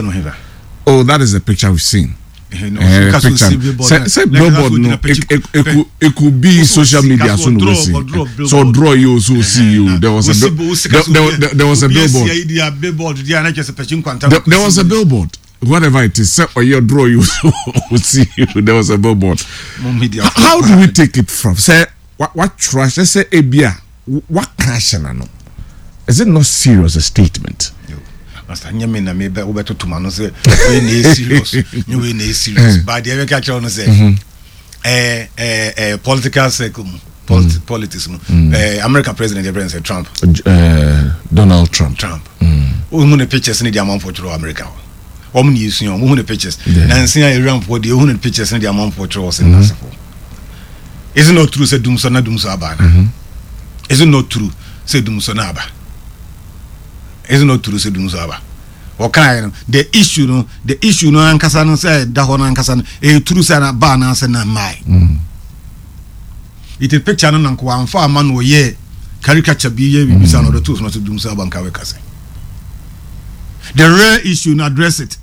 Billboard no heba. Oh, that is the picture we've seen. Picture sɛ sɛ billboard no it, it could be social media so no see so draw you so see you there was a there, there, there was a billboard there, there was a billboard whatever it is sɛ ɔyɛ draw you so see you there was a billboard how do we take it from sɛ watwerɛ ahyɛ sɛ ebia waka ahyɛ n'ano is it not serious a statement. Pastor nyɛ me na me bɛ wobɛtoto ma no sɛ wei na ɛyɛ serious nyɛ wei na ɛyɛ serious eh. but deɛ mɛka kyerɛ no sɛ mhm. eh, eh, eh, political circle mu politi mm. politics mu mm. eh, American president yɛ president Trump uh, Donald Trump Trump wohu ne pictures ne deɛ amanfoɔ twerɛ wɔ America hɔ wɔn ne yɛsua wɔn wohu ne pictures nansi a Iranfoɔ deɛ wohu ne pictures ne deɛ amanfoɔ twerɛ wɔ sɛ nasefoɔ Is it not true sɛ dumsɔ na dumsɔ aba ana? Mm-hmm. Is it not true sɛ dumsɔ na aba? Is it not true sɛ dumsɔ aba? Wɔkaeɛ no the issue no the issue no ankasa no sɛ ɛda hɔ no ankasa no ɛyɛ true sɛ na ba anaasɛ na mmae. Mm. It is picture no na nko amfa ama no ɔyɛ caricature bi yɛ biribi saa na ɔde too so na sɛ dumsɔ aba nka wɛka sɛ. The real issue no address it.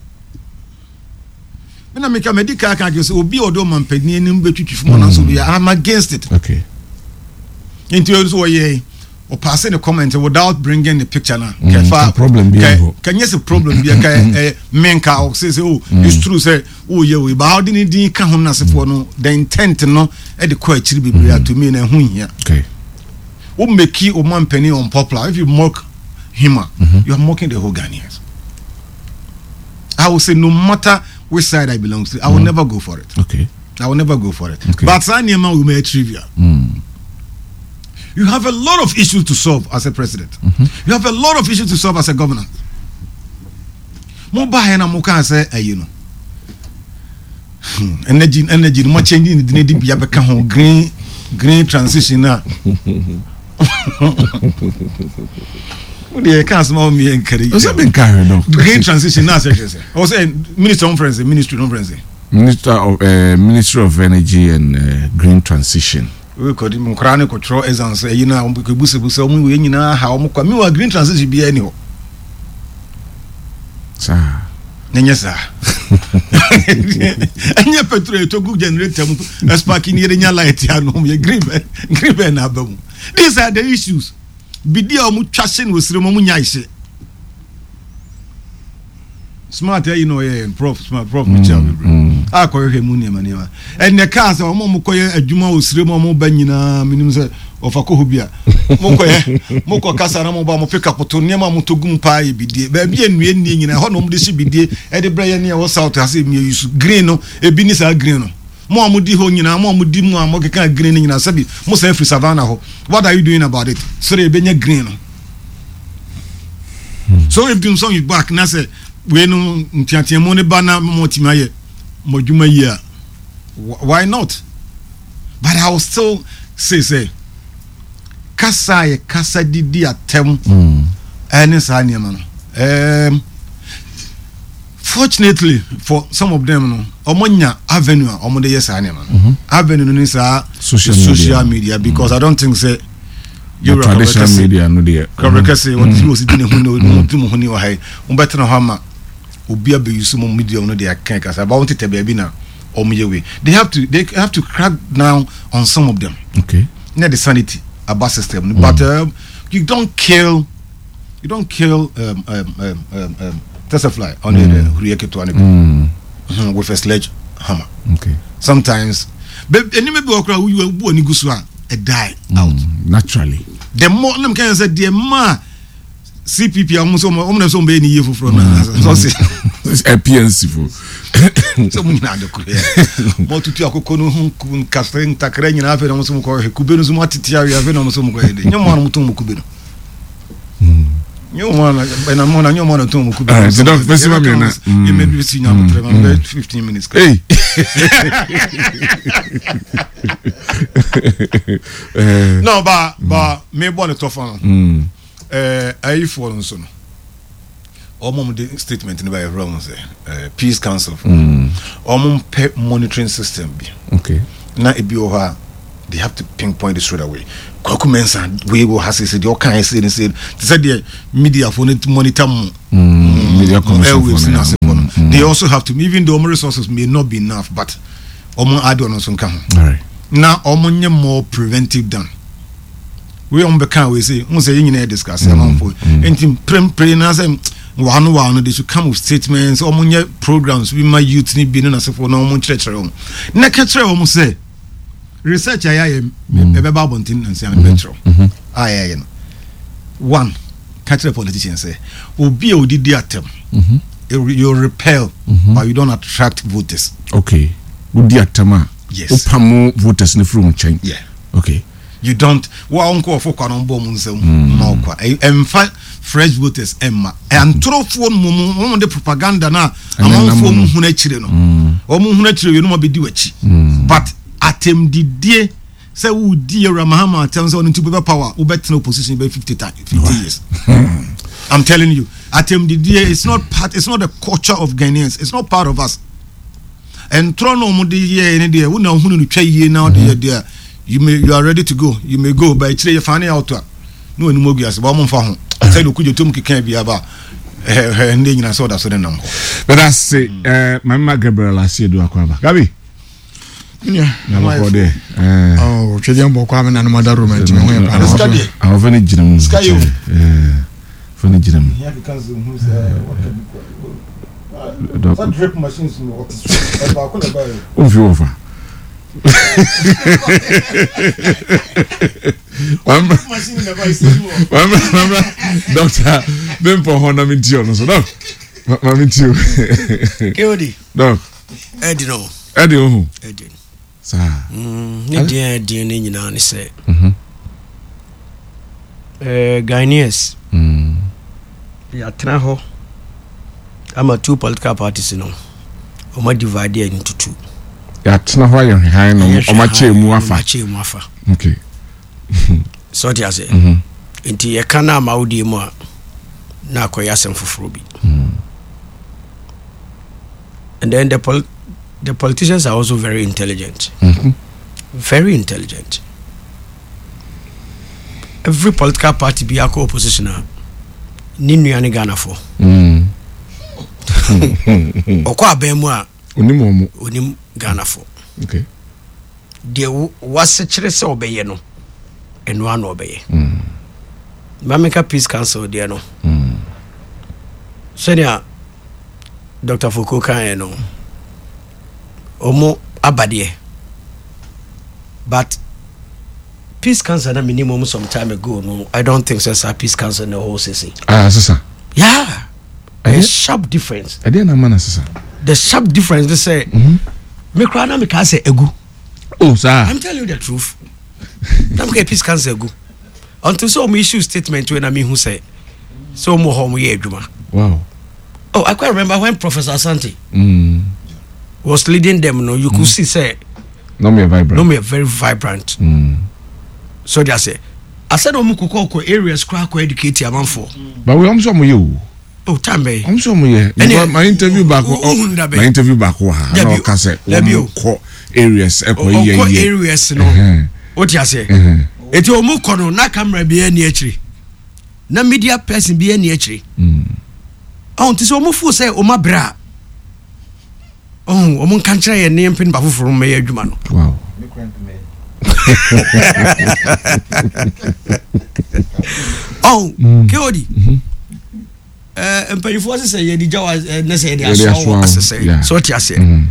Me na meka madi kan aka akyerɛ sɛ obi a ɔde ɔmampanin anim bɛtwitwi fam anaasɛ obi I'm against it. Okay. Nti ɔno nso ɔyɛ ɔpaase ne comment without bringing the picture na. Mm, kɛfa problem bi ɛhɔ. Kɛnyɛ sɛ problem bi ɛka ɛ menka ɔsɛ sɛ oh mm. it's true sɛ ɔyɛ wei baa ɔde ne din ka ho n'asefoɔ no the intent no ɛde kɔ akyiri bebree ato mi na ɛho hia. Okay. Wo make ɔmampanin unpopular if you mock him a mm-hmm. you are mocking the whole Ghanaians. I will say no matter which side I belong to, I will mm. never go for it. Okay. I will never go for it. Okay. But saa nneɛma wo mɛ trivia. Mm. You have a lot of issues to solve as a president. Mm-hmm. You have a lot of issues to solve as a governor. Mo ba yɛn na mo kaa sɛ ayi no. Hmm, energy energy no mo change ne din di bia bɛka ho green green transition na. Wo deɛ yɛka asɛm a wo mmea nkari. Ɔsɛ mi nka hwɛ no. Green transition na asɛ hwɛ sɛ. Ɔsɛ minister of friends ministry no friends. Minister of uh, Ministry of Energy and uh, Green Transition. Wei kɔ di nkora ne kɔtwerɛ exams ɛyi na wɔn kɔ busabusa wɔn wei nyinaa ha wɔn kɔ mi wa green transition biara ni hɔ. Saa. Nyɛ saa. Ɛnyɛ petrol ɛtɔ gu generator mu ɛspark ni yɛde nya light ano yɛ green bɛ green bɛ na aba mu. These are the issues. Bidi a wɔn twa se na osire mu wɔn nya ese. Smart ayi na ɔyɛ prof smart prof mi kyerɛ bebree mm. a kɔhwehwɛ mu nneɛma nneɛma ɛnna kaa sɛ wɔn a wɔkɔyɛ adwuma wɔ sire mu a wɔn ba nyinaa menim sɛ ɔfa kɔ hɔ bi a mokɔyɛ mokɔ kasa na mo ba mo pick up to nneɛma a motɔ gu mu paa yɛ bidie baabi a nnua nnie nyinaa ɛhɔ na wɔn de si bidie ɛde brɛ yɛ ne ɛwɔ south ase mmea yi so green no ebi ne saa green no mo a modi hɔ nyinaa mo a modi mu a mokeka green no nyinaa sɛbi mo san firi savannah hɔ what are you doing about it sɛdeɛ ebɛnya green no so if dumsɔn is back na sɛ wei no nteateamu ne ba na mo tumi ayɛ mo adwuma yie a why not but I will still say sɛ kasa a yɛ kasa didi atɛm ɛne saa nneɛma no ɛɛm fortunately for some of them no wɔn nya avenue a wɔn de yɛ saa nneɛma no avenue no ne saa social media, social media because mm. I don't think say yɛwura traditional media no deɛ kɔbɛ kɛse wɔn ti wɔsi di ne ho ne wɔn ti mo ho ne wɔ ha yi wɔn bɛ tena hɔ ama obi abɛyi so mo media no deɛ akɛn kasa ba wɔn tetɛ baabi na wɔn yɛ wei they have to they have to crack down on some of them okay na the sanity about system mm. but um, you don't kill you don't kill um, um, um, um, um, fly on the huriɛ ketewa no bi with a sledge hammer okay sometimes but nneɛma bi wɔ koraa woyi bu ani gu so a it die out naturally the more nam kan sɛ deɛ maa cpp a wɔn sɛ wɔn na sɛ wɔn bɛyɛ ne yie foforɔ na sɛ ɔsɛ pnc fo sɛ wɔn nyinaa de koro yɛ wɔn tutu akoko no ho nkasɛ ntakra nyinaa afei na wɔn sɛ wɔn kɔ hwɛ kube no so wɔn atete awie afei na wɔn sɛ wɔn kɔ yɛ de nyɛ wɔn a wɔn tɔn wɔn kube no nyɛ wɔn a ɛna mo na nyɛ wɔn a tɔn wɔn kube no so dɔk bɛsi ma mi na yɛ mɛ bi si nya abotire ma bɛ 15 minutes. Hey. no ba ba mi bɔ ne tɔfa no ayifoɔ no nso no wɔn a wɔde statement no ba yɛ wɔn sɛ peace council fo wɔn mpɛ monitoring system bi okay na ebi wɔ hɔ a they have to pinpoint it straight away Kwaku Mensah wei wɔ ha sese deɛ ɔka yɛ se ne se te sɛ deɛ media fo no monitor mu media commission airwaves fo na no ase fo no. no. They also have to, even though ɔmo resources may not be enough, but ɔmo ade ɔno nso nka ho. Na ɔmo nyɛ more preventive than wei ɔmo bɛka wei sɛ n sɛ yɛn nyinaa yɛ discuss amanfo nti mprempren na sɛ wano wano they should come with statements. Ɔmo nyɛ programs bi ma youth ni bi ne n'asefo na ɔmo nkyerɛkyerɛ wɔn na kɛkyerɛ wɔn sɛ research a yɛayɛ ɛbɛba abɔnten na nsia bɛkyerɛw a yɛayɛ no one ka kyerɛ politician sɛ obi a odidi atɛm, you repel but you don't attract voters. Okay, wodi atɛm a, Yes. wopam voters no firi wo nkyɛn. Yeah. Okay. You don't wo a nkɔɔfo kwa no bɔ mu nsɛm ma wo kwa. Ɛmfa fresh voters ɛmma antorofoɔ no mu wɔn de propaganda na amanfoɔ mu hunu akyire no, wɔn hunu akyire wie no ma bɛdi w'akyi. But atɛmdidie sɛ wodi Ewura Mahama atɛm sɛ ɔno nti wobɛbɛ power, wobɛtena opposition bɛ 50 times, 50 years. I'm telling you, atɛmdidie, it's not part, it's not the culture of Ghanaians, it's not part of us. Ntorɔ na wɔn de yɛɛ ne deɛ wo na ohunu no twa yie na ɔde yɛ deɛ, you may, you are ready to go, you may go, but akyire yɛ fa ne out a ne wɔn anim agu ase ba wɔn mfa ho sɛ de okudwo tom keka bi aba ɛhɛ ɛhɛ ne nyinaa sɛ ɔda so ne nam hɔ. Bɛda se ɛɛ maame ma Gabriel Asiedu akɔ aba Gabi. Na bɔkɔ deɛ. Ɔ twɛdeɛ mbɔkɔ a me nanom ada roma nti me ho yɛ paa. Sika deɛ. Ahɔfɛ no gyina mu. Sika yɛ o. Ahɔfɛ no gyina mu. Womfi wɔ fa. Mamra dɔkta bempɔ hɔ na menti ɔno so dɔk ma menti o. Keodi. Dɔk. Ɛdi no. Ɛdi ohu. Ɛdi. Saa. Ne deɛ ɛdi ne nyinaa ne sɛ. Ghanaians. Yɛatena hɔ ama two political parties no wɔn divide yɛn into two. Yɛatena hɔ ayɛ hwehwan no wɔn akyɛ mu afa. Wɔn akyɛ mu afa. Okay. Sɛ ɔte ase. Nti yɛka no ama wodie mu a na akɔyɛ asɛm foforɔ bi. And then the politicians are also very intelligent. Very intelligent. Every political party bi akɔ opposition a ne nua ne Ghanafoɔ. Ɔkɔ abɛn mu a onim wɔn mu. Onim Ghanafoɔ. Okay. Deɛ wasekyerɛ sɛ ɔbɛyɛ no, ɛno ano ɔbɛyɛ. Mameka Peace Council deɛ no. Sɛnea Dr. Foko kaeɛ no, ɔmo abadeɛ. But Peace Council na menim ɔmo some time ago no, I don't think sɛ saa Peace Council na ɛwɔ sese. Ah, sesa. Yeah. A sharp difference. Ɛdeɛ na ama na sesa. The sharp difference ne sɛ me koraa na mekaa sɛ egu. Oh, saa. I'm telling you the truth. Na meka Peace Council egu. Until sɛ ɔmo issue statement wei na mehu sɛ ɔmo wɔ hɔ ɔmo yɛ adwuma. Wow. Oh, I quite remember when Professor Asante was leading them. No, you could see say No more vibrant. No more very vibrant. So they say, I said, "Omu koko ko areas kura ko educate amanfo." But we also mo you. Oh, time be. I'm so mo ye. My interview back. My interview back. Ha. Na oka say omu ko areas e ko ye ye. Areas no. What you say? Eti omu ko no na camera bi ani akyiri. Na media person bi ani akyiri. Oh, nti so omu feel say omu abra. Oh, omu nka nkyerɛ yɛ ne mpɛ nipa foforo mmɛyɛ adwuma no. Wow. Oh, KOD. Mpanyinfoɔ sɛ sɛ yɛde gya wa ne sɛ yɛde asoa wɔ asesɛ sɛ ɔte aseɛ.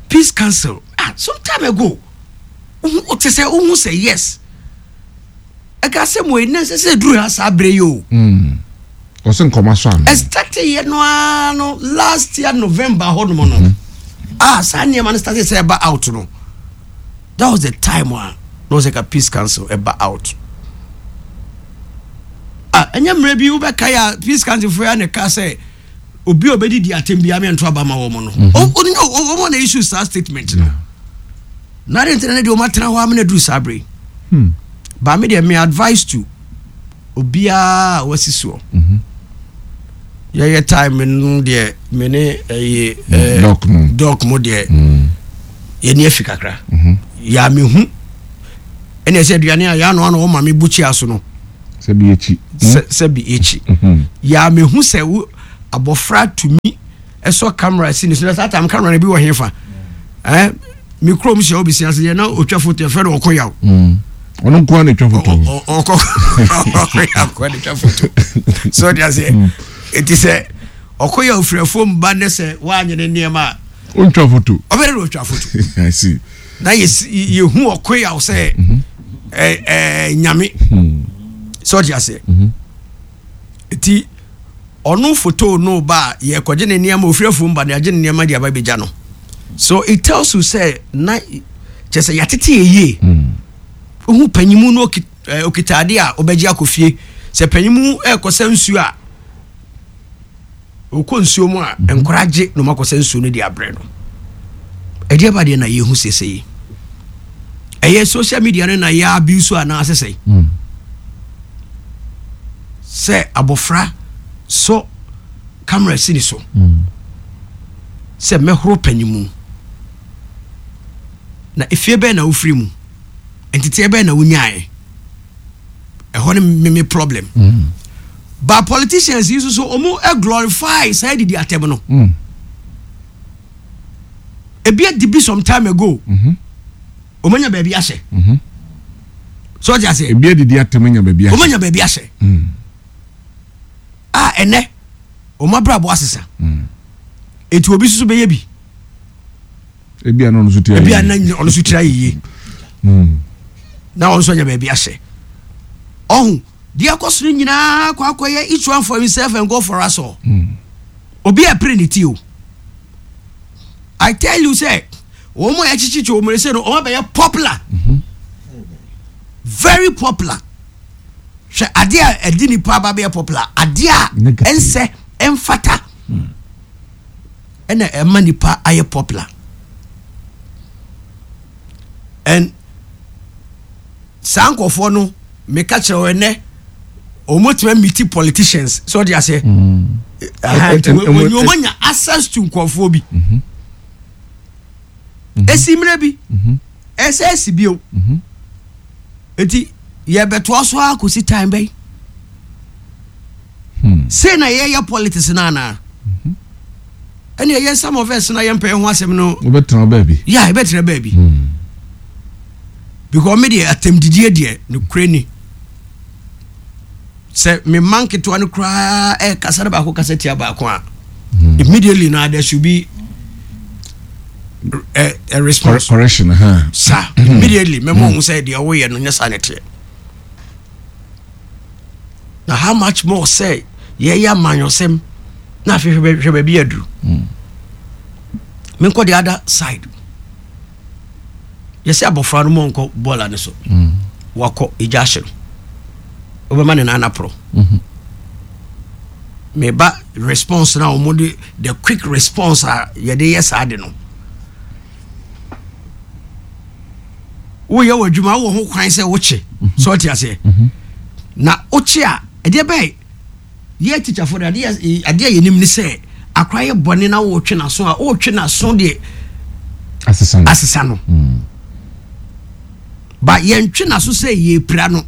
Peace Council some time ago wote sɛ wohu sɛ yes ɛka sɛ mo ɛnɛ sɛ sɛ duru ha saa berɛ yi o. Ɔsɛ nkɔma so ano. Ɛstate yɛ no ara no last year November hɔ nom no. Ah, saa nneɛma no started sɛ ɛba out no. That was the time a na ɔsɛ ka Peace Council ɛba out. Ah, ɛnyɛ mmerɛ bi wobɛka yɛ a Peace Council foɔ ya na ɛka sɛ obi a ɔbɛdidi atɛm biara mɛnto aba ma wɔn no. Wɔn na issue saa statement no. Na ade ntina ne deɛ wɔn atena hɔ amena duru saa bere. Ba me deɛ me advice to obiara a wasi soɔ. Yɛyɛ time no deɛ me ne ɛyɛ dɔk mo deɛ yɛni afi kakra. Yɛ a mehu ɛna ɛsɛ aduane a yɛano ano wɔma me bukyia so no. Sɛbi ekyi. Sɛbi ekyi. Yɛ a mehu sɛ wo abɔfra tumi. ɛsɔ camera si ne so na saa time camera no bi wɔ hefa eh me kurom hyɛ obi si ase yɛ na otwa photo yɛfrɛ no ɔkɔ yaw mm. ɔno nko ara na etwa photo ɔkɔ ɔkɔ yaw nko na etwa photo so ɔde aseɛ mm. eti sɛ ɔkɔ yaw firi afuom ba ne sɛ wanyɛ ne nneɛma a ɔntwa photo ɔbɛrɛ na ɔtwa photo I see na yɛ yɛhu ɔkɔ yaw sɛ mhm. ɛ ɛ nyame hmm. so ɔde aseɛ mhm. Eti ɔno fotoo no ba a yɛkɔgye ne nneɛma ofiri afuom ba no yɛagye ne nneɛma de aba bɛgya no so it tells you sɛ na kyɛ sɛ yɛatete yɛ yie wohu panyimu no okita ade a wobɛgye akɔ fie sɛ panyimu ɛrekɔsɛ nsuo a Ɔkɔ nsuo mu a, nkwadaa gye na wɔakɔsa nsuo no de abrɛ no. Ɛdeɛ ba deɛ na yɛhu sese yi. Ɛyɛ social media no na yɛ abuse anaasɛ sɛ. Hmm. Sɛ abɔfra sɔ camera si ne so. Hmm. Sɛ mɛhoro panyimu. Na efie bɛn na wofiri mu? Nteteɛ bɛn na wonyaeɛ? ɛhɔ ne me me problem mm. but politicians yi nso so wɔn eh, glorify saa didi atɛm no mm. ebi adi bi some time ago mm-hmm. wɔn anya baabi ahyɛ mm-hmm. so ɔdi ase ebi adidi atɛm anya baabi ahyɛ wɔn anya baabi ahyɛ mm. a ɛnɛ wɔn abrabɔ asesa mm. eti obi soso bɛyɛ bi. Ebi a na ɔno nso tiri ayɛ yie. Ebi a na ɔno nso tiri ayɛ yie. Hmm. Na ɔno nso anya baabi ahyɛ. Ɔho deɛ ɛkɔ so no nyinaa kɔ akɔyɛ each one for himself and God for us all. Hmm. Obi a pere ne ti o. I tell you sɛ wɔn a yɛkyekyekye wɔn sɛ no wɔn abɛyɛ popular. Mm-hmm. Very popular. Hwɛ adeɛ a ɛde nipa aba bɛyɛ popular adeɛ a ɛnsɛ ɛnfata. Hmm. ɛna ɛma nipa ayɛ popular and saa nkurɔfoɔ no meka kyerɛ wɔn ɛnɛ wɔn atumi amiti politicians sɛ ɔde aseɛ wɔn wɔn anya access to nkurɔfoɔ bi mm-hmm. esi mmerɛ bi mm-hmm. ɛsɛ esi bio mm-hmm. eti yɛbɛtoa so akɔsi time bɛyi. Hmm. Sei na yɛyɛ politics no anaa? Mhm. Ɛne ɛyɛ some of us na yɛmpɛ ho asɛm no. Wobɛtena baabi. Yeah, yɛbɛtena baabi. Hmm. Because me deɛ atɛmdidie deɛ nokorɛ ni. Sɛ me mma nketewa no koraa ɛkasa no baako kasa tia baako a hmm. immediately na there should be a, a response. Correction. Huh? Sa immediately mɛmɔ ohun sɛ deɛ ɔwoyɛ no nyɛ saa na ɛteɛ. Na how much more sɛ yɛyɛ amanyɔsɛm na afei hwɛ hwɛ baabi aduru. Hmm. Menkɔ the other side. Yɛsɛ abɔfra no mɔnkɔ bɔɔla no so. Hmm. Wakɔ egya ahye no. Wobɛma ne nan aporɔ. Hmm. Meba response na wɔn de the quick response a yɛde yɛ saa de no. Woyɛ w'adwuma wowɔ ho kwan sɛ wokye mhm. sɛ ɔte aseɛ mhm. na wokye a ɛdeɛ bɛyɛ yɛ tikyafoɔ de adeɛ adeɛ a yɛnim ne sɛ akora yɛ bɔne na wotwe n'aso a wotwe n'aso deɛ asesa no mm. ba yɛntwe n'aso sɛ yɛpira no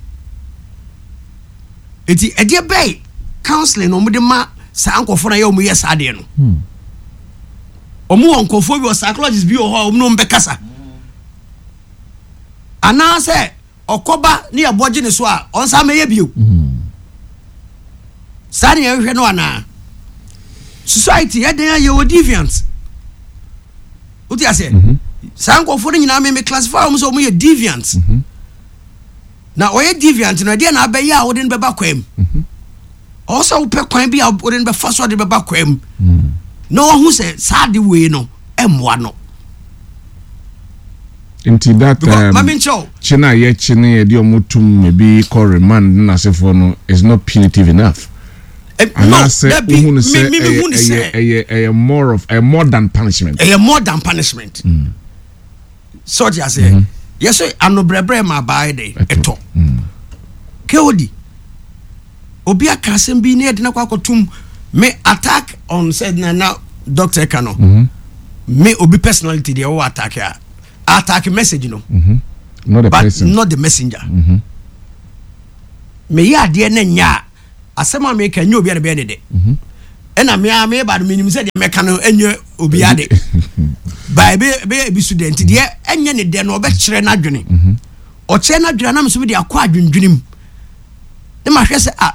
eti ɛdeɛ bɛyɛ counseling na wɔde ma saa nkɔfoɔ na yɛ wɔn yɛ saa adeɛ no hmm. wɔn wɔ nkɔfoɔ bi wɔ psychologist bi wɔ hɔ a wɔn ne wɔn bɛkasa. Anaasɛ ɔkɔba ne yɛbɔ gye ne so a, ɔnsan mɛyɛ bio. Saa ne yɛhwehwɛ no anaa? Society yɛ dɛn a yɛwɔ deviant. Wote aseɛ? Mhm. Saa nkurɔfoɔ no nyinaa me me classify wɔn sɛ wɔn yɛ deviant. Mhm. Na ɔyɛ deviant no ɛdeɛ na abɛyɛ a wode no bɛba kwan mu. Mhm. Ɔwɔ sɛ wopɛ kwan bi a wode no bɛfa so de bɛba kwan mu na wahu sɛ saa ade wei no mmoa no. Nti that um, kye no a yɛkye no yɛde ɔmo tum ebi kɔ remand ne n'asefoɔ no is not punitive enough. Eh, Anaasɛ wohu no sɛ ɛyɛ ɛyɛ ɛyɛ more of ɛyɛ more than punishment. Ɛyɛ more than punishment. Mm. Sɛ ɔte aseɛ. Mm-hmm. Yɛsɛ anobrɛbrɛ ma abaa yɛ dɛ ɛtɔ. Kewodi. Obi aka asɛm bi ne yɛde no akɔ akɔtom me attack on sɛ na na doctor ka no mm -hmm. me obi personality deɛ wɔwɔ attack a attack message no mm -hmm. not the but person. not the messenger mm -hmm. meyɛ adeɛ no nyɛ a asɛm a meka nyɛ obi a ne bɛyɛ ne dɛ mm -hmm. Ɛna me ara meba no menim sɛ deɛ mɛka no ɛnyɛ obiara de ba ɛbɛyɛ ebi so dɛ nti deɛ ɛnyɛ ne dɛ no ɔbɛkyerɛ n'adwene mhm. Ɔkyerɛ n'adwene anam so de akɔ adwendwene mu ne mahwɛ sɛ a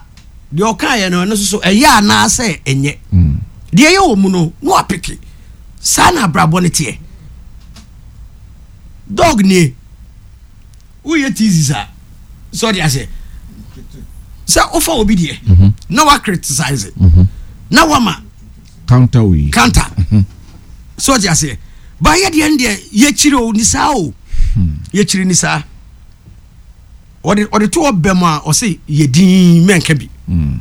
deɛ ɔkaeɛ no ɛno nso so ɛyɛ anaasɛ ɛnyɛ mm. Deɛ ɛyɛ wɔ mu no na wapeke saa na abrabɔ no teɛ dog nie woyɛ thesis a sɛ ɔde aseɛ sɛ wofa obi deɛ mhm. na wa criticize mhm. na wama counter wei counter mhm. Sɛ ɔde aseɛ ba yɛ deɛ no deɛ yɛkyiri o ni saa o hmm. Yɛkyiri ni saa ɔde ɔde to ɔbɛ mu a ɔse yɛ din mɛnka bi hmm.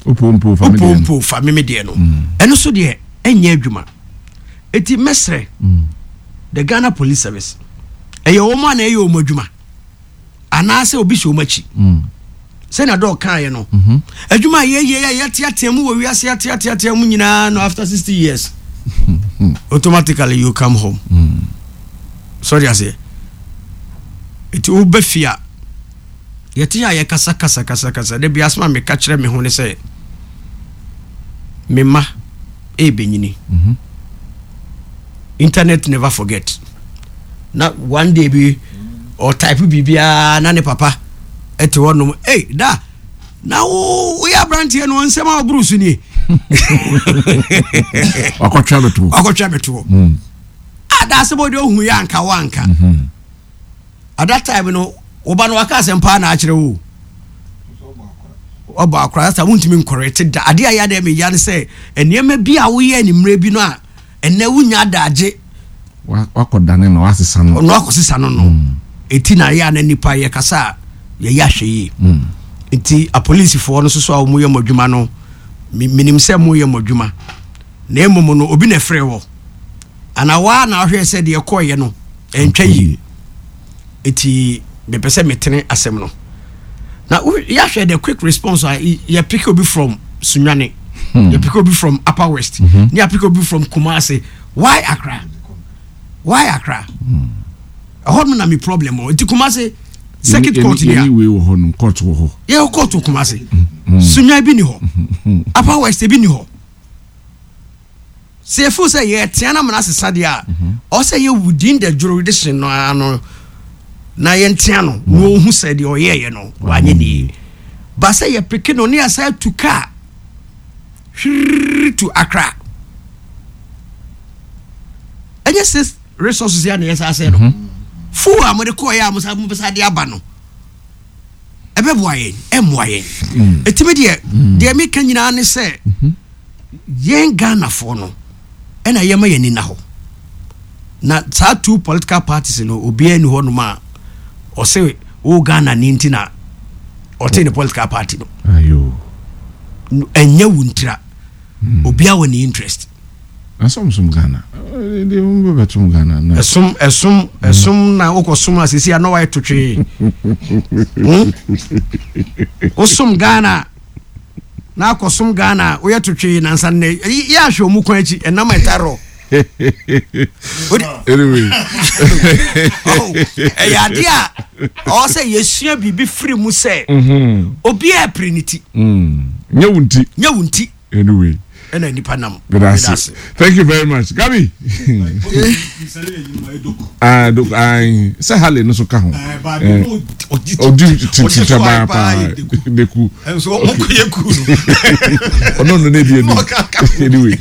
Opo mpo fa meme deɛ no hmm. Ɛno so deɛ ɛnyɛ adwuma eti mɛsrɛ the Ghana Police Service ɛyɛ wɔn a na ɛyɛ wɔn adwuma anaasɛ obi hyɛ wɔn akyi mm. Sɛnea dɔɔ kaeɛ no mhm. Adwuma a yɛyɛ yɛ yɛteatea mu wɔ wiase ateateatea mu nyinaa no after 60 years automatically you come home mm. Sɔre aseɛ ɛti woba fie a yɛte a yɛkasa kasa kasa kasa da bi asɛm a meka kyerɛ me ho ne sɛ me mma ɛbɛnyini mm-hmm. Internet never forget na one day bi ɔtype biribiara na ne papa ɛte hɔ nom ei da na wo woyɛ aberanteɛ no nsɛm a woboro so nie wakɔtwa bɛtoɔ wakɔtwa bɛtoɔ mm. Ada asɛm ɔde ohu yɛ anka wo anka mm-hmm. At that time no wo ba no waka asɛm paa na akyerɛ wo ɔbɔ akora sɛ wontumi nkɔrɛte da adeɛ a yɛ adeɛ meya ne sɛ nneɛma bi a woyɛ animmerɛ bi no a ɛnɛ wonya adagye wakɔdane no wasesa no ɔno akɔsesa no no ɛti mm. Na yɛ a na nipa yɛkasa a yɛyɛ ahwɛ yie mm. Nti apolisifoɔ no soso a wɔyɛ mo adwuma no menim sɛ moyɛ mo adwuma na mmom no obi na ɛfrɛ wɔ anaa waa na ahwɛ sɛ deɛ ɛkɔɔyɛ no ɛntwa yie nti mepɛ sɛ metene asɛm no na yɛahwɛ the quick response a yɛpick obi from Sunyani hmm. Yɛpick obi from Upper West mm-hmm. Ne yɛpick obi from Kumasi. Why Accra? Why Accra? Hmm. Ɛhɔ nom na me problem wɔ nti Kumasi circuit court ni a wei wɔ hɔ nom court wɔ hɔ yɛwɔ court wɔ Kumasi hmm. Sunyani bi ni hɔ hmm. Upper West bi ni hɔ sɛ yɛfo sɛ yɛtea no amana sesa deɛ a ɔwɔ sɛ yɛ within the jurisdiction no ara no na yɛntea no na ɔhu sɛ deɛ ɔyɛɛyɛ no wanyɛ ne yie ba sɛ yɛpeke no ne yɛsa atu kaa hwiriri to Accra ɛnyɛ sɛ resources yɛ na yɛsa sɛ no mhm. Fuel a mode kɔɔyɛ a mosa mobɛsa de aba no ɛbɛboa yɛn ɛmmoa yɛn ɛtumi mm. Deɛ mm. Deɛ meka nyinaa ne sɛ mhm. Yɛn Ghanafoɔ no ɛna yɛma yɛn ani na hɔ na saa two political parties no obiara ni hɔ nom a ɔse wo Ghana ni nti na ɔte ne political party no ɛnyɛ wo ntira hmm. Obiara wɔ ne interest. Ɛsom Ghana Ghana ɛsom ɛsom ɛsom na wokɔ som a sisi a na wayɛ totwee hmm? Wosom Ghana na akɔsom Ghana a woyɛ totwee nansa nnɛ yɛ ahwɛ ɔmu kwan akyi ɛnam ɛtarɔ anyway oh, ɛyɛ adeɛ a ɔwɔ sɛ yɛsua biribi firi mu sɛ mhm. obiara pere ne ti mm. Nyɛ wo nti nyɛ wo nti anyway ɛna nipa nam. Medase. Thank you very much. Gabi. Ah, dok ai sɛ Harley no so ka ho. Odi tita ba pa deku. Nso ɔmo kɔ yɛ ku no. Ɔno no ne di enu. Anyway,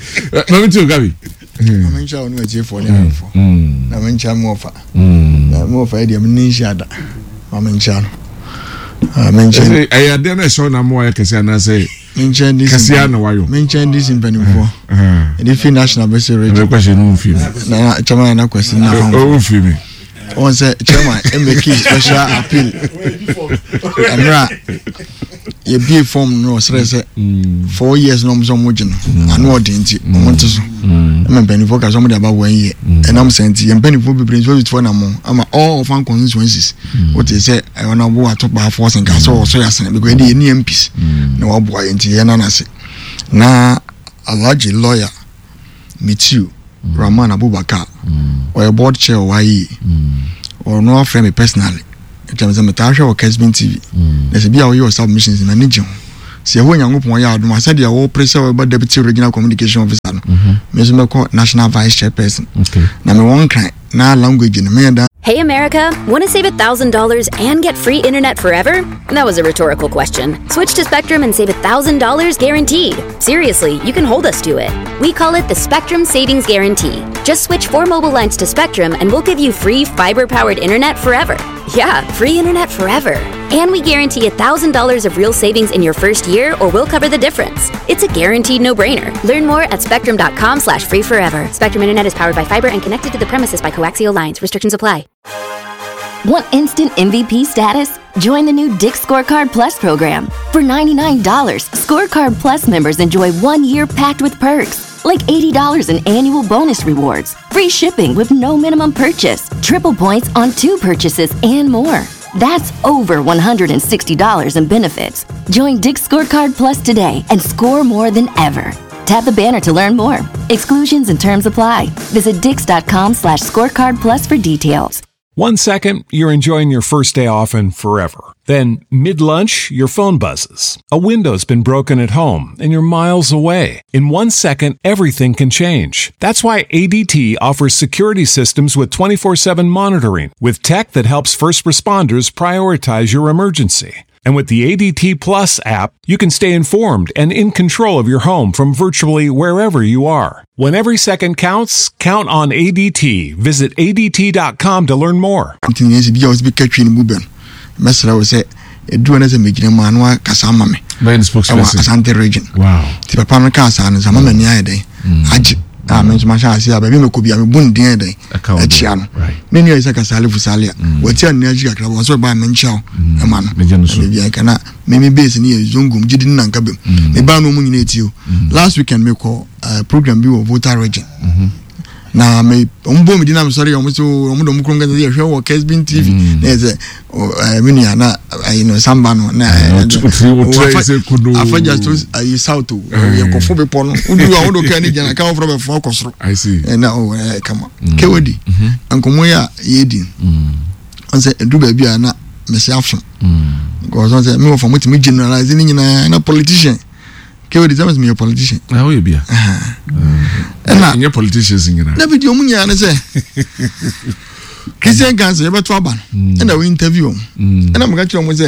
mami ti o Gabi. Mami nkyɛn ɔno akyefo ne ahwɛfo. Na mi nkyɛn mu ɔfa. Na mu ɔfa yɛ deɛ mi ne nhyia da. Mami nkyɛn no. Mi nkyɛn. Ɛyɛ adeɛ na ɛhyɛ ɔna mu ayɛ kɛse anaasɛ. Me nkyɛn DC kɛseɛ na wayɔ. Me nkyɛn DC mpanimfoɔ. Ɛde fi national bɛsɛ region. Ɛbɛ kwasi no nfi mi. Na chairman na kwasi na fam. O nfi mi. Wɔn sɛ chairman ɛmɛki special appeal. Ɛmira yɛbie form no ɔsrɛ sɛ 4 years na ɔmo sɛ ɔmo gye no ano ɔden nti ɔmo nte so ɛma mpanimfoɔ ka sɛ ɔmo de aba 1 year ɛnam sɛ nti yɛn mpanimfoɔ bebree nso tutuo na mo ama all orphan constituencies wote sɛ ɛwɔ na ɔbo ato baafoɔ sɛ nka sɛ ɔsɔ yɛ asene because ɛde yɛ ni MPs na waboa yɛn nti yɛn nan ase na Alhaji lawyer Mitiu Rahman Abubakar ɔyɛ board chair wɔ ayie ɔno afrɛ me personally ɛkyɛ me sɛ metaa hwɛ wɔ Kesbin TV na sɛ bi a woyɛ wɔ submissions na ne gye ho. Sɛ Yehowa Nyankopɔn yɛ adom a, sɛdeɛ wopere sɛ wobɛba Deputy Regional Communication Officer no, mm-hmm. me nso mɛkɔ National Vice Chairperson. Okay. Na mewɔ Nkran na language no meyɛ da. Hey America, want to save $1,000 and get free internet forever? That was a rhetorical question. Switch to Spectrum and save $1,000 guaranteed. Seriously, you can hold us to it. We call it the Spectrum Savings Guarantee. Just switch four mobile lines to Spectrum and we'll give you free fiber powered internet forever. Yeah, free internet forever. And we guarantee $1,000 of real savings in your first year or we'll cover the difference. It's a guaranteed no-brainer. Learn more at spectrum.com slash free forever. Spectrum Internet is powered by fiber and connected to the premises by coaxial lines. Restrictions apply. Want instant MVP status? Join the new Dick Scorecard Plus program. For $99, Scorecard Plus members enjoy one year packed with perks, like $80 in annual bonus rewards, free shipping with no minimum purchase, triple points on two purchases, and more. That's over $160 in benefits. Join Dick Scorecard Plus today and score more than ever. Tap the banner to learn more. Exclusions and terms apply. Visit dix.com slash scorecard plus for details. One second, you're enjoying your first day off and forever. Then, mid lunch, your phone buzzes. A window's been broken at home and you're miles away. In one second, everything can change. That's why ADT offers security systems with 24 7 monitoring, with tech that helps first responders prioritize your emergency. And with the ADT Plus app, you can stay informed and in control of your home from virtually wherever you are. When every second counts, count on ADT. Visit ADT.com to learn more. Nti nea ɛsɛ bi a wɔsɛ bi ka twi no mu bɛ no mɛsrɛ wo sɛ ɛduru no sɛ megyina mu a na wakasa ama me ɛwɔ Asante region nti papa no kaa saa no sɛ ama m'ani ayɛ dɛn mm. agye a me nso mahyɛ ase a baabi mɛkɔ bi a mebu ne din ayɛ dɛn akyia no me nua Isaka Salifu Salia mm. wati anni akyi kakra wɔ sɛ ɔbaa menkyia wo mm. ɛma no baabi a nka na meme base no yɛ zongom gyidi no nanka bɛm mebaa no ɔmu nyina ɛtie o last weekend mekɔ eh, program bi wɔ Volta region mm-hmm. na me wɔn bɔ mi di na mi sɔre yɛ wɔn so wɔn de wɔn kurom kɛse yɛhwɛ wɔ Kesbin TV mm. na yɛ sɛ ɛɛ mi nua na ɛyi no samba no na ɛɛ afagya to ayi south o yɛ kɔfo bepɔ no wodu a wodo kaa ne gyina kaa wɔfrɛ bɛ fɔ akɔ soro ɛna o ɛɛ kama kewedi mm-hmm. nkɔmɔ yi a yɛdi ɔn sɛ edu baabi a na mɛsi afo because ɔn sɛ mi wɔ fam tumi generalize ne nyinaa na politician. Kewedi sɛ meyɛ politician. Na woyɛ bia. Ɛna nyɛ politicians nyinaa. Na bi di ɔmo nyinaa ne sɛ Christian Council yɛbɛto aba no mm. ɛna wo interview ɔmo. Mm. Ɛna meka kyerɛ ɔmo sɛ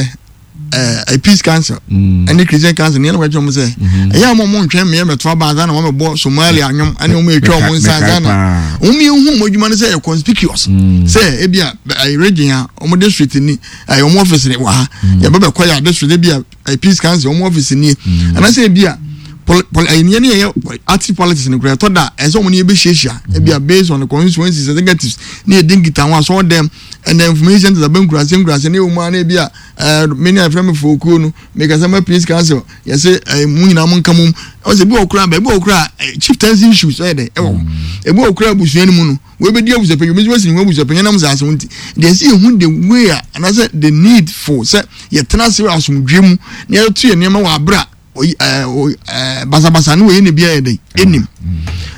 ɛɛ eh, Peace Council mm. ɛne Christian Council ne ɛna meka kyerɛ ɔmo sɛ mm-hmm. ɛyɛ a ɔmo ntwɛn mmea mɛto aba ansa na wɔn bɛbɔ Somalia anwom ɛne ɔmo atwa ɔmo nsa ansa na ɔmo yɛ hu ɔmo adwuma no sɛ ɛyɛ conspicuous sɛ ebi a ɛyɛ region a ɔmo district ni ɛyɛ ɔmo office wɔ ha yɛbɛ bɛkɔ yɛ district ebi a ɛyɛ peace council wɔn office nie mm. anaasɛ ebi a pol pol ɛyɛ nea ne yɛ active politics no koraa ɛtɔ da ɛsɛ wɔn ne yɛ bɛ hyiahyia mm. ebi a based on the constituencies executives ne yɛ di nkita ho asɔɔ dɛm ɛnna information tesa bɛ nkurase nkurase ne wɔn a na ebi a ɛɛ me ne afɛn mi fo okuo no mekasa ma peace council yɛsɛ ɛɛ mu nyinaa mo nka mo mu ɔsɛ ebi wɔ koraa baabi wɔ koraa chieftaincy issues ɛyɛ dɛ ɛwɔ hɔ mm. ebi wɔ koraa abusua no mu no. Wei-bɛdi abusuapanyin, obi nso bɛsi ne ho abusuapanyin nam saa asɛm nti. Deɛ ɛsɛ yɛhu the way a anaasɛ the need for sɛ yɛtena ase wɔ asomdwoeɛ mu na yɛto yɛn nneɛma wɔ abere a basabasa ne wɔyɛ ne bi ayɛ dɛn ɛnim.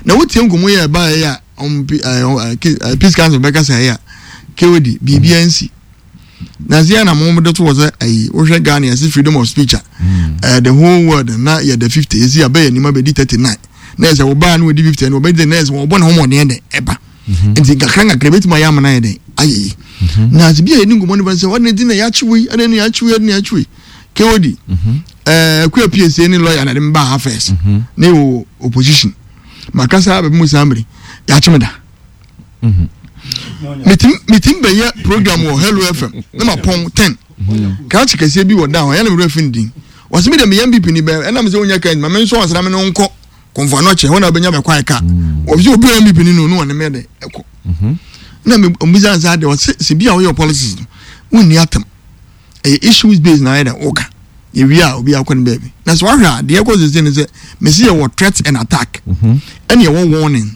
Na wotie nkɔmmɔ yi a ɛbaeɛ a ɔm peace council bɛka sɛ ɛyɛ a KOD biribiara nsi. Na sɛ na mo de to wɔ sɛ ayi wohwɛ Ghana yɛse freedom of speech a mm. the whole world na yɛda 50 yɛsi abɛyɛ nneɛma bɛdi 39 na ɛsɛ wɔbaa na wɔdi 50 no wɔbɛdi na ɛsɛ wɔbɔ ne ho mmɔden dɛn ɛba mhm. nti nkakra nkakra bɛtumi ayɛ amana yɛ dɛn ayɛ yi mhm. na ase bi a yɛni nkɔmmɔ no bɛ sɛ wɔde ti na yɛakye wei ɛde na yɛakye wei ɛde na yɛakye wei kewodi mhm. ɛɛ kuya psa ne lawyer na de mba ha first ne wɔ opposition makasa bɛbi mu saa mmiri yɛakye me da metim bɛyɛ program wɔ hello fm na mapɔn 10 krakye kɛseɛ bi wɔ da hɔ ɛyɛ na mewerɛ fi ne din wɔsɛ me deɛ meyɛ mpp ni bɛn ɛnam sɛ wonya ka ma me nso ɔsra me no nkɔ kɔmfo ano kyɛ hɔ na wobɛnya bɛkɔ ayɛ ka wɔsɛ obi a mpp ni no no wɔne me de ɛkɔ na mebisa sɛ adeɛ wɔsɛ sɛ bi a woyɛ politics no wonni atam ɛyɛ issues based na ayɛ dɛ woka yɛwie a obi akɔ ne baabi na sɛ wahwɛ a deɛ ɛkɔ sese ne sɛ mesi yɛwɔ threat and attack ɛne yɛwɔ warning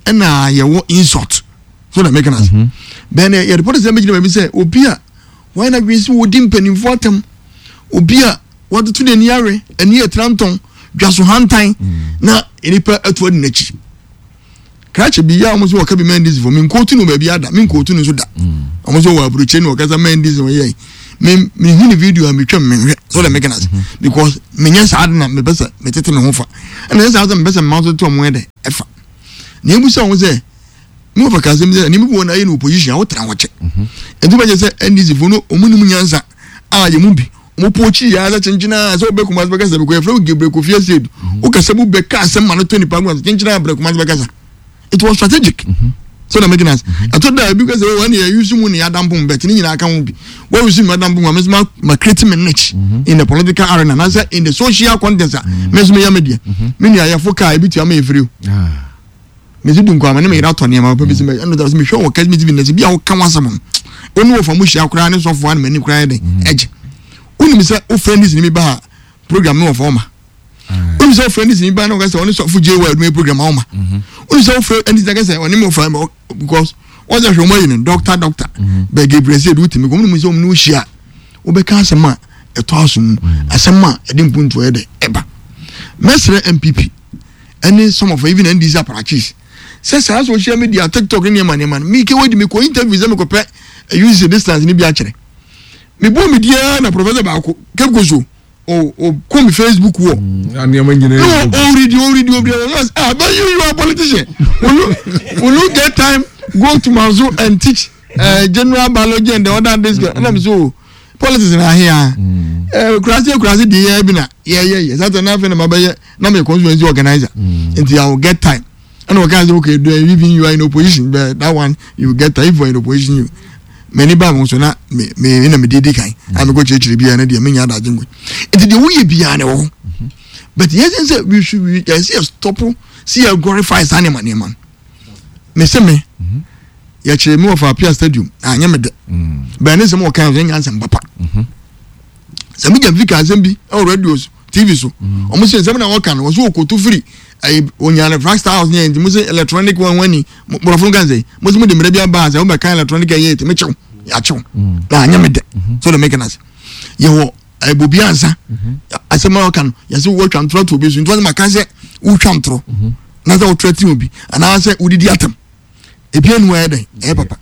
ɛna yɛwɔ insult so na meka no ase mhm. bɛn yɛde pɔtɛ sɛ mɛgyina baabi sɛ obi a wɔayɛ no adwene sɛ wɔdi mpanimfoɔ atam obi a wɔatoto n'ani awe ani yɛ trantɔn dwaso hantan mm. na nnipa atu adi n'akyi krakye bi yɛ a wɔn nso wɔka bi mɛndisi fo menkootu no baabi ada menkootu no nso da mm. wɔn nso wɔ aburokyire no wɔkasa mɛndisi wɔn yɛ me mehu ne video a metwam menhwɛ. So dem making us because menyɛ saa de na mepɛ sɛ metete me ho fa ɛna nyɛ saa sɛ mepɛ sɛ mma nso te ɔmo yɛ dɛ ɛfa na ebu sɛ ɔmo sɛ mo fa kasɛm sɛ nneɛma bi wɔ na ayɛ no opposition a wotena hɔ kyɛ nti bɛkyɛ sɛ NDC fo no ɔmo nim nyansa a yɛ mu bi ɔmo po akyi yɛ asɛ kyenkyen a sɛ ɔbɛ Kumasi bɛkasa bi kɔ yɛfrɛ wo Gabriel Kofi Asiedu wokasa mu bɛka asɛm ma no to nipa mu kyenkyen a brɛ Kumasi bɛkasa. It was strategic. Mm -hmm. So that making us. I thought that because oh, when you use money, Adam boom, but in your account, what you see, Madam Boom, I'm my creating my niche mm-hmm. in the political arena, and I said in the social context, Miss Mia Media, Mini, I have for car, bit your free. mesi du nkwa ne meyere atɔ nneɛma papa bi sɛ ɛno da sɛ mehwɛ wɔ kɛse tv na sɛ bi a woka wasɛm no ɔne wɔfa mu hyia koraa ne sɔfoɔ a ne m'ani koraa yɛ den ɛgye wonim sɛ wofrɛ ne sini bi ba a program no wɔfa ɔma wonu sɛ wofrɛ ne sini ba na wɔka sɛ ɔne sɔfo gye wɔ adwuma program awoma wonu sɛ wofrɛ ɛne sɛ sɛ ɔne mo fa because wɔn sɛ hwɛ wɔn ayi no doctor doctor bɛɛ Gabriel sɛ edu tumi kɔn mu sɛ wɔn ne wohyia wobɛka asɛm a ɛtɔ aso mu asɛm a ɛde mpuntuo yɛ dɛ ɛba mɛsrɛ NPP ɛne some of even NDC apparatchiks sɛ saa social media TikTok ne nneɛma nneɛma no mike wadi mekɔ interview sɛ mekɔpɛ use distance ne bi akyerɛ mebɔ me diaa na professor baako Cape Coast o o o kɔ mi facebook wɔ. Mm, nneɛma nyinaa yɛ o o redi o redi o redi ah but you you are politician will you will you get time go to manso and teach general biology and the other this girl ɛna mi so politics na ahia ɛɛ kurasi kurasi di yɛ bi na yɛ yɛ yɛ sata n'afɛ na ma bɛ yɛ na mi yɛ constituency organizer nti i will get time ɛna ɔka sɛ okay do even you are in opposition but that one you get time if you are in opposition you m'ani baa mo so na me me na me di kan a mekɔ kyerɛkyerɛ biara no deɛ menya adagye nkɔ nti deɛ woyɛ biara na ɛwɔ hɔ but yɛn sɛ sɛ we should we yɛn sɛ yɛ stop si yɛ glorify saa nneɛma nneɛma no me se me yɛkyerɛ mi wɔ fa apia stadium anyɛ me dɛ bɛn ne nsɛm wɔ kan so nyɛ nsɛm papa sɛ mi gya fi ka asɛm bi ɛwɔ radio so tv so wɔn sɛ nsɛm na wɔka no wɔn so wɔkoto firi ɛyi onyane flagstaff house nyɛ nti mo sɛ electronic wɔn wɔn ni borɔfo nka sɛ mo sɛ mo de mmerɛ bi aba sɛ wɔn bɛka electronic ɛyɛ eti mo kyew yakyew na anyɛ mi dɛ so de make na se yɛ wɔ ɛbɔ bi ansa asɛm a wɔka no yɛsɛ wɔtwa ntorɔ to obi so nti wɔn ma ka sɛ wotwa ntorɔ na sɛ wɔtrɛ ti obi anaasɛ wodidi atam ebi enu ayɛ dɛ ɛyɛ papa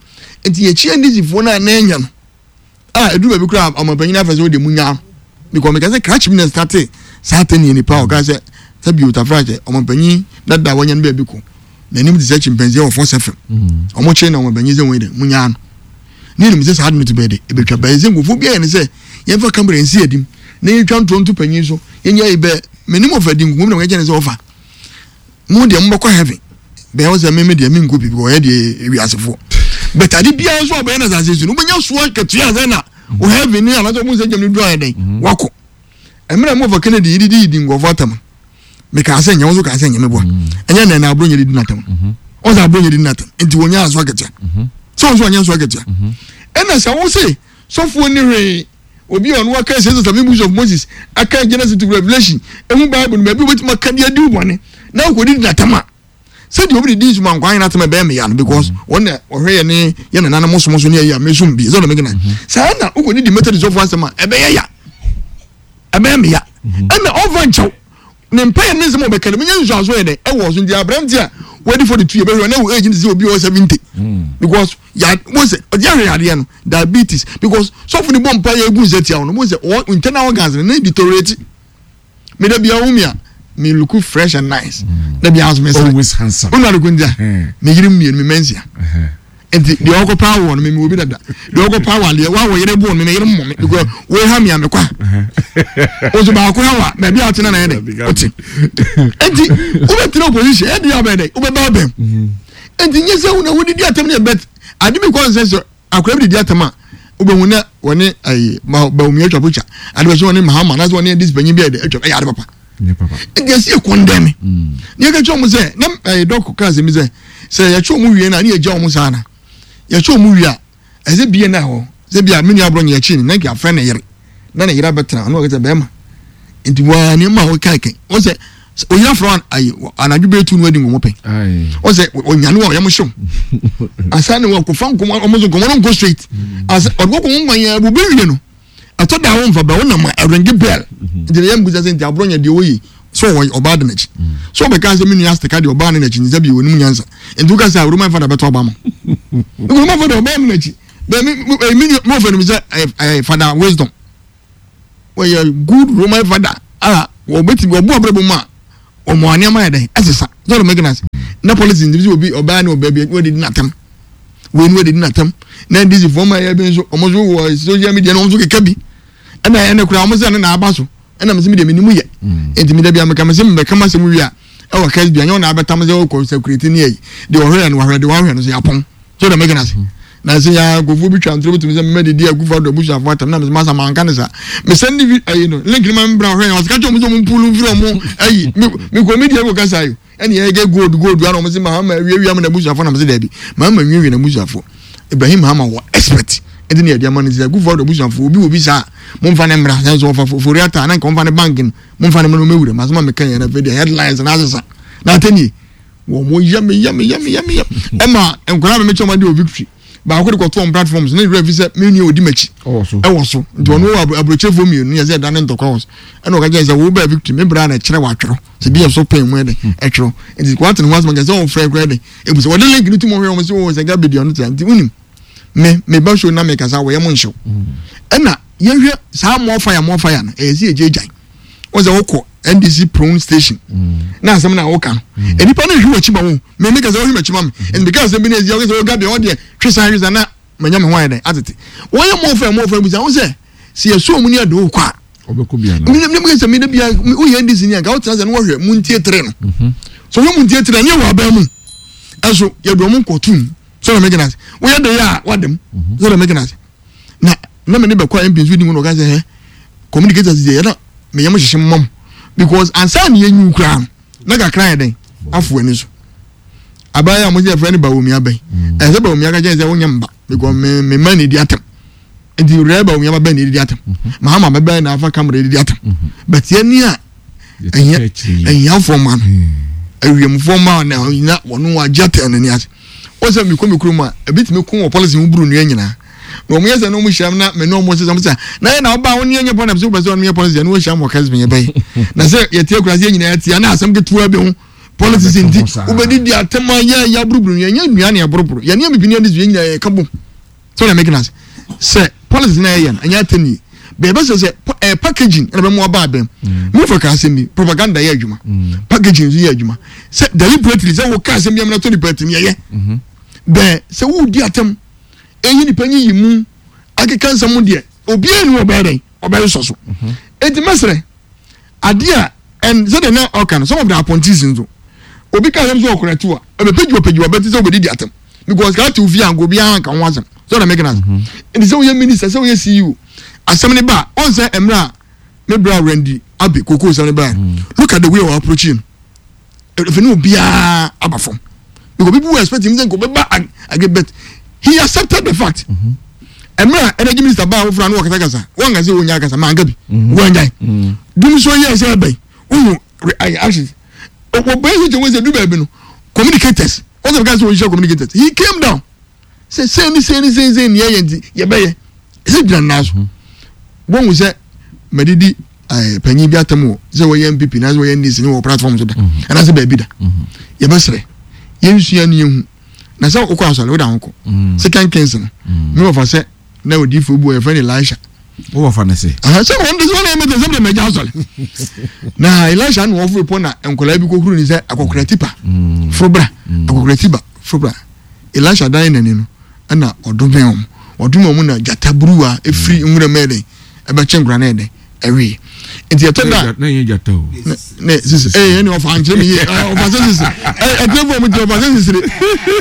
nti yɛkyi ndc foɔ no a na ɛnyɛ no a ɛduru baabi koraa ɔmanpanyin afɛ sɛ wode mu nyaa because meka sɛ krakye bi na starte saa tɛneɛ nipa a ɔka sɛ sɛ bio tafra kyɛ ɔmanpanyin dada wanya no baabi ko n'anim te sɛ chimpanzee wɔ fɔs fm ɔmo kyerɛ na ɔmanpanyin sɛ wɔn dɛ mu nyaa no ne nim sɛ saa de no to bɛyɛ de ebetwa bɛyɛ sɛ nkurɔfoɔ bi ayɛ ne sɛ yɛmfa kamera nsi adim na yɛntwa ntorɔ nto panyin so yɛnyɛ yi bɛ menim ɔfa di nkumu na wɔyɛ kyɛ ne sɛ ɔfa mo deɛ mobɛkɔ heaven bɛyɛ wo sɛ meme deɛ menkɔ bi because ɔyɛ deɛ ewiasefoɔ but ade biara nso a ɔbɛyɛ no asase so no wobɛnya soɔ katua sɛ na wo heaven ne anaasɛ ɔmo sɛ gyam no duru ayɛ dɛn mhm. wakɔ mmerɛ mo fa Kennedy yididi yidi nkurɔfoɔ atam mekaa sɛ nyɛ wo nso kaa sɛ nyɛ meboa mhm. ɛnyɛ nɛ na aburo nyɛ didi n'atam mhm. ɔsɛ aburo nyɛ didi n'atam nti wɔnya aso akatua sɛ wɔn nso wɔnyɛ nso akatua ɛna sɛ wo se sɔfoɔ ni hwee Obi a ɔno aka Six Seven Books of Moses, aka Genesis to Revelation, ehu Bible no baabi obetumi aka de adi bɔne na okodi di n'atam a, sɛdeɛ obi de di nsuma nkwa ayɛ n'atam ɛbɛyɛ meya no because mm. wɔn na ɔhwɛ yɛ ne yɛ nananom som so ne ɛyɛ a mesom bi sɛ ɔna megyina mm-hmm. saa na okodi di Methodist ɔfo asɛm a ɛbɛyɛ ya ɛbɛyɛ meya mm-hmm. ɛna ɔmfa nkyɛw ne mpaeɛ ne nsɛm a ɔbɛka no menya nsuanso yɛ dɛ ɛwɔ so nti aberante a wadi 42 yɛbɛhwɛ na wɔ age no sɛ obi wɔ 70 because ya mo sɛ ɔde ahwɛ yadeɛ no diabetes because sɔfo ne bɔ mpaeɛ egu nsa tia no mo sɛ ɔ internal organs no ne deteriorate me da bia wo mi a me look fresh and nice da bia nso me sere always handsome wonu adeko ntia me yere mmienu me mansia nti deɛ ɔkɔ paa wɔ no mimi obi dada deɛ ɔkɔ paa wɔ adeɛ wa wɔ yere bɔ no mimi yere mmɔ mi because wo ha mi a mekɔ a oso baako ha wa baabi a ɔtena na yɛ dɛ ɔte nti wobɛtena opposition ɛdi abɛn dɛ wobɛba abɛn nti nye sɛ wona wodidi atam ne ɛbɛt ade bi kɔ nsɛ sɛ akora bi didi atam a wobɛhu na wɔne ayi bawumia atwa picture ade bɛ sɛ wɔne mahama anaasɛ wɔne ndc panyin bi atwa ɛyɛ ade papa nti ɛsi yɛ kɔndɛm ne yɛka kyerɛ wɔn sɛ na ɛyɛ dɔk kaa sɛ mi sɛ sɛ yɛkyɛ wɔn wie na ne yɛgya wɔn saa na yɛkyɛ wɔn wie a ɛsɛ bie na hɔ sɛ bia me nua aborɔ nyɛ akyi ne na nka afrɛ ne yere na ne yere abɛtena ɔno ɔkɛsɛ bɛrima nti waa nneɛma a wɔka kɛn wɔn sɛ oyi afrɛ ayi anadwo bɛyɛ tu no adi nkɔmɔ pɛn wɔn sɛ onyane wɔ ɔyɛ mo hyew asa ne wɔn kɔfa nkɔmɔ wɔn so nkɔmɔ no nkɔ straight asa ɔde kɔ kɔmɔ nkwan yɛn ɛbɔ bɛ wie no ɛtɔ da wɔn nfa bɛ wɔn nam a ɛrɛnge bɛl nti yɛn mbusa sɛ nti aborɔ nyɛ deɛ wɔyi so ɔwɔ ɔbaa de n'akyi so ɔbɛka sɛ me nua asiteka deɛ ɔbaa ne n'akyi nsa bi onim nyansa nti woka sɛ roman fada bɛtɔ ɔba ma roman fada ɔbaa ne n'akyi bɛɛ mi mi mi nua mo fɛ no mi sɛ ɛɛ fada wisdom. Wɔyɛ good Roman father a wɔbɛtumi wɔbɔ abrabɔ mu a wɔn nneɛma yɛ dɛn ɛsesa. Sɛ ɔdɔ mɛgana ase. Na politics nti sɛ obi ɔbaa ne ɔbaa bi wɔde di n'atam. Wei ni wɔde di n'atam. Na NDC foɔ ma yɛ bi nso wɔn nso wɔ social media na wɔn nso keka bi. Ɛna ɛna kura wɔn sɛ ɛna na aba so. Ɛna mɛ sɛ mi deɛ mi ni mu yɛ. Nti mi dabi ameka mɛ sɛ mɛ kama sɛ mu wie a ɛwɔ kɛse bi anyɛ wɔn na abɛtam sɛ ɔkɔ sɛ kureti ne yɛ yi. Deɛ ɔhwɛ yɛ no wahwɛ deɛ wahwɛ no so yɛ apɔn. So ɔdɔ mɛgana ase. Na sɛ yɛ nkurɔfoɔ bi twa ntorɔ bɛtumi sɛ mɛmɛ didi akufo addo abusuafoɔ atam na mesɛ masa manka ne saa mesɛn ne vi ayi no link no ma mbra hwɛ ɔsɛ ka kyerɛ ɔmo sɛ ɔmo mpulu mfiri ɔmo ayi me mekɔ media kɔ kasa yi ɛne yɛ gɛ gold gold ana ɔmo sɛ mahama awiawia mo na abusuafoɔ na mesɛ daabi mahama nwiawia na abusuafoɔ Ibrahim Mahama wɔ expert ɛnti ne yɛde ama no sɛ akufo addo abusuafoɔ obi wɔ bi saa momfa ne mmra sɛ nso ɔfa fori ata na nka ɔmfa ne bank no momfa ne mmra na ɔmɛwura masɛm a meka yɛ na afei deɛ headlines na asesa na atɛnie wɔn yam yam yam yam yam ɛma nkwadaa mi mi kyɛn wɔn adi wɔ victory baako de kɔto wɔn platforms ne wura fi sɛ mi nua odi m'akyi ɛwɔ so nti ɔno wɔ aburokyefoɔ mmienu yɛ sɛ ɛda ne ntɔkwa wɔ so ɛna ɔka kyerɛ sɛ wo bɛɛ victory mi bra na ɛkyerɛ wɔ atwerɛ sɛ bi yɛ so pɛn mu ɛdɛ ɛtwerɛ nti wɔate ne ho asɛm kɛ sɛ wɔn frɛ kora ɛdɛ ebu sɛ wɔde link no tu mu hwɛ wɔn sɛ wɔn sɛ gabi deɛ ɔno tia nti wunim me me ba show na me kasa wɔyɛ mo nhyɛw ɛna yɛhwɛ saa more fire more fire no ɛyɛ sɛ yɛgye gyan wɔn sɛ wokɔ ndc prone station mm. na asɛm na woka no mm. nnipa no hwɛ w'akyi ma wo me me kasa wohwɛ m'akyi ma me mm. ɛnti meka asɛm bi na ɛsi wokasɛ woga deɛ ɔdeɛ twe san twe san na manya me ho ayɛ dɛn atete wɔyɛ mmɔfra mmɔfra bisa wo sɛ sɛ yɛsɔ mu ne ade wo kɔ a mene sɛ mede bia woyɛ ndc ni anka wotena sɛ ne wɔhwɛ mu ntie tere no mhm. so wohwɛ mu ntie tere ne yɛwɔ aban mu ɛso yɛde ɔmo nkɔtom sɛ na mɛgyina ase woyɛ de yɛ a wadam mhm. sɛ na mɛgyina ase na na me ne bɛkɔ a mp nso di mu na ɔka sɛ hɛ communicators deɛ yɛna meyɛ mo hyehye mmam because ansa na yɛnyi koraa no na kakra yɛ dɛn afo ani so abayɛ a mo sɛ yɛfrɛ no bawomi abɛn mm. ɛsɛ bawomi aka kyɛn sɛ wonyɛ mba because me me ma ne di atam nti rɛ bawomi aba bɛn ne di atam mm-hmm. mahama bɛbɛn na afa kamera di atam mm-hmm. but yɛn ni a ahiafoɔ ma no hmm. awiemfoɔ ma na ɔnyina wɔn agye atɛn n'ani ase wɔn sɛ mekɔ me kurom a ebi tumi ko wɔ policy ho buru nnua nyinaa na wɔn yɛ sɛ na wɔn hyia na mɛ ne wɔn sɛ sɛ na yɛ na ɔba wɔn yɛ nyɛ pɔn na sɛ wɔpɛ sɛ wɔn yɛ policy ɛna wɔn hyia mu wɔ kɛse yɛ bɛyɛ na sɛ yɛte akura sɛ yɛ nyinaa yɛte na asɛm ketewa bi ho politics nti wobɛdi di atɛm a yɛ yɛ aburuburu yɛn nyɛ nnua na yɛboroboro yɛn ne bibini ani so yɛn nyinaa yɛ ka bom sɛ wɔn mɛkina ase sɛ politics na yɛyɛ no ɛnyɛ atɛm yie bɛɛbɛ sɛ sɛ ɛɛ packaging ɛna bɛ mu aba abɛn mu fɛ ka asɛm bi propaganda yɛ adwuma packaging nso yɛ adwuma sɛ deliberately sɛ wɔka asɛm bi amena to nipa tim yɛyɛ bɛɛ sɛ wɔredi atɛm eyi nipa nyi yi mu akeka nsɛm deɛ obiara ni ɔbɛyɛ dɛn ɔbɛyɛ sɔ so eti mɛsrɛ adeɛ a ɛn sɛdeɛ na ɔka no some of the appointees nso obi ka asɛm sɛ ɔkora tiwa ɛbɛpɛgyi ɔpɛgyi ɔbɛte sɛ ɔbɛdidi atɛm because kaa te ofie anka obiara anka ho asɛm sɛ ɔna mɛka no ase nti sɛ woyɛ minister sɛ woyɛ ceo asɛm ne ba ɔn sɛ mmerɛ a me bra Randy Abbey koko sɛm ne ba look at the way ɔ approach no ɛfɛ ne obiara aba fam because people were expecting him sɛ nka ɔbɛba again but he accepted the fact mmerɛ a energy minister baa foforɔ a na wɔkasakasa wɔnka sɛ wɔnya akasa manka bi wɔanyae dum so yɛɛ sɛ ɛbɛn wohu actions wɔbɛn so kyɛ wɔn sɛ du baabi no communicators wɔn sɛ bɛka sɛ wɔnhyia communicators he came down sɛ sɛn ne sɛn ne sɛn sɛn ne yɛyɛ nti yɛbɛyɛ ɛsɛ gyina nnan so wɔn sɛ mɛdidi ɛɛ panyin bi atam wɔ sɛ wɔyɛ npp na sɛ wɔyɛ ndc ne wɔ platform so da mhm. anaasɛ baabi da mhm. yɛbɛsrɛ yɛnsua ne yɛhu na sɛ wokɔ asɔre woda ho kɔ mhm. second kings no me wɔfa sɛ na odiifo bu yɛfrɛ no elisha wowɔfa no se sɛ wɔn de sɛ wɔn ɛmɛ sɛ sɛ mɛgya asɔre na elisha na wɔforo pɔ na nkwadaa bi kɔhuru ne sɛ akɔkora tipa foro bra akɔkora tipa foro bra Elisha dan n'ani no, ɛna ɔdomee wɔn. Ɔdomee wɔn na gyata buruwa efiri nwura mu ɛdɛn ɛbɛkye nkora no ɛdɛn ɛwee. Nti ɛtɔ da. Na ɛnyɛ gyata o. Ne sisi ee ɛni ɔfa nkyɛn mi yie ɔfa sɛ sisi ɛ ɛtɛ fún ɔmo ti ɔfa sɛ sisire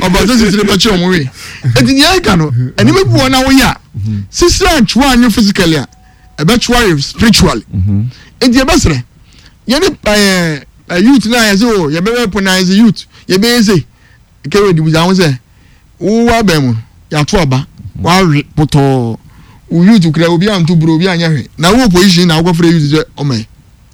ɔfa sɛ sisire bɛkye wɔn wee. Nti nea ɛka no ɛnima bi wɔ na woyɛ a sisire antwewa anyo physically a ɛbɛtwewa yɛ spiritually. Nti ɛbɛsrɛ yɛne ɛɛ youth na yɛ sɛ o yɛbɛbɛ pon na yɛ sɛ youth yɛbɛyɛ sɛ. Kennedy bisa ho sɛ, Wo w'aban mu no, yɛato aba, woawe potɔɔ, wo youth kura obi anto buro, obi anyɛ hwee, na wo opposition na wokɔfrɛ youth sɛ ɔmɛ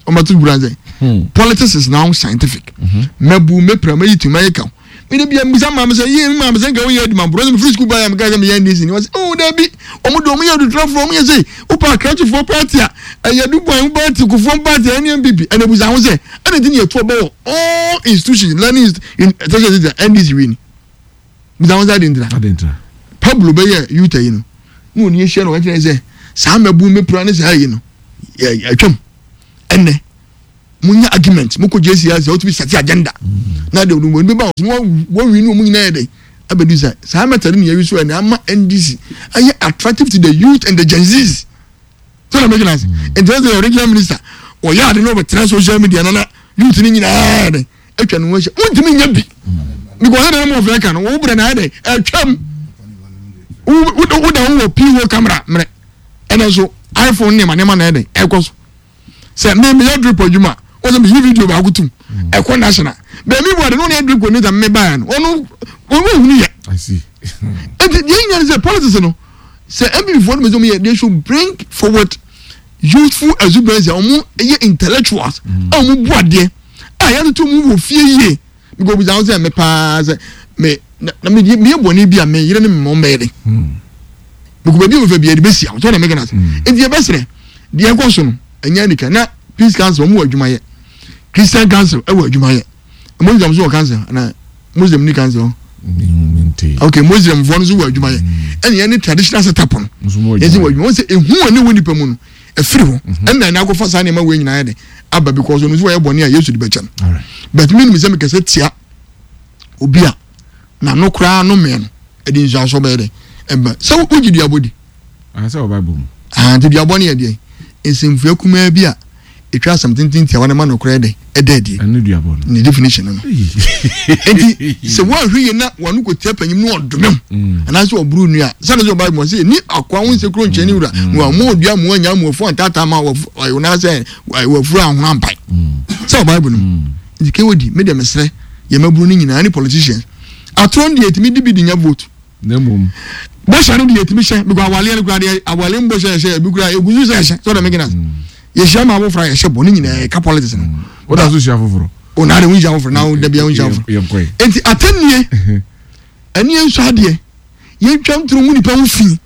ɔmɛto buro ansɛ. Hmm. Politics is now scientific. Mm-hmm. Mɛbu, mɛpira, mɛyi tu, mɛyɛ kaw. Mede bia mbisa maame sɛ, yie, maame sɛ nka woyɛ adwuma borɔ sɛ mefiri sukuu baeɛ a meka sɛ meyɛ NDC ni. Wɔsɛ, oh, daabi, ɔmo de ɔmo yɛ adutrafoɔ, ɔmo yɛ sei, wopɛ akrakyefoɔ party a, ɛyɛ Dubois party, Kufuor party, ɛne NPP. Ɛna busa ho sɛ, ɛna nti ne yɛto ɔbɔ wɔ all institutions learning tertiary institutions ndc wei ni bisa wɔn sɛ adi ntira pablo bɛyɛ yuta yi no na wɔn ahyia na wɔn kyerɛ sɛ saa mɛbu mɛpira ne saa yi no yɛ atwam ɛnɛ munya argument mokɔ JCRC a wotumi sɛte agenda na de wɔn bɛba wɔn wɔwi ne wɔn nyinaa yɛ dɛ abɛdu sɛ saa method ne yɛwi so ɛna ama NDC ayɛ attractive to the youth and the Gen Zs so na mɛgyina ase nti ɛsɛ regional minister ɔyɛ ade na ɔbɛtena social media nana youth ne nyinaa yɛ dɛ atwa ne ho ahyia wontumi nyɛ bi because ɛna mo ɔfɛ ka no wo brɛ na ayɛ dɛ atwam woda wo wɔ pho camera mmerɛ ɛna nso iphone nneɛma nneɛma na ɛyɛ dɛ ɛkɔ so sɛ me meyɛ drip adwuma wɔn sɛ meyi video baako tum ɛkɔ national bɛmi bu ade no wɔn yɛ drip coordinator mme baayɛ no ɔno wɔn wɔn hunu yɛ eti deɛ nyina ne sɛ politics no sɛ npp foɔ no mɛ sɛ wɔn yɛ they should bring forward youthful exuberance a wɔn yɛ intellectuals a wɔn bu adeɛ a yɛatoto mu wɔ fie yie because obisa ho sɛ me paa sɛ me na me me yɛ bɔnne bi a me yere ne me mɔ mbɛyɛ de because baabi a wɔfɛ bi yɛde bɛsi a wɔtɔ na mɛgana ase nti yɛbɛsrɛ deɛ ɛkɔ so no ɛnyɛ anika na peace council wɔn wɔ adwuma yɛ christian council ɛwɔ adwuma yɛ muslim nso wɔ council na muslim ni council ok muslim foɔ no nso wɔ adwuma yɛ ɛna yɛn ne traditional setup no yɛn nso wɔ adwuma wɔn sɛ ehu a ne wɔ nipa mu no ɛfiri hɔ mhm. ɛna ɛna akɔfa saa nneɛma wei nyinaa yɛ de aba because ɔno nso wɔyɛ bɔne a yesu de bɛkyɛ no but mi nim sɛ mekɛsɛ tia obi a n'ano koraa no mmea no ɛde nsuaso bɛyɛ dɛ ɛba sɛ wogye duabɔ di sɛ wɔ bible mu nti duabɔ no yɛ deɛ nsɛmfua kumaa bi a ɛtwa asɛm tenten tiawa no ma nokorɛ dɛ ɛda adie ɛne duabɔ no ne definition no no nti sɛ woanhwɛ yie na wano kɔtia panyim no ɔdome wo mm. anaasɛ ɔboro nnua sɛne sɛ ɔbible mu sɛ ni akoa wo nsɛ kuro nkyɛn ne wura mm. na wama ɔdua mu anya mu afu antaataa ma anaasɛ wafuru ahono ampae mm. sɛ ɔbible no mu nti kɛwɔdi me deɛ mesrɛ yɛmaburu no nyinaa ne politicians atorɔ no deɛ ɛtumi di bi de nya vote Na mmom. Bɔhyɛ no deɛ yɛtumi hyɛ because awaleɛ no koraa deɛ awale mu bɔhyɛ yɛhyɛ ebi koraa egu so sɛ yɛhyɛ sɛ ɔdɛ mekena mm. yɛhyia ma abofra yɛhyɛ bɔ ne nyinaa yɛka politics no. Mm. O da so hyia foforɔ. O na de ho hyia foforɔ na o dabi ho hyia foforɔ. Nti atɛnnie ɛne yɛn nso adeɛ yɛntwa ntoro mu nipa ho fi.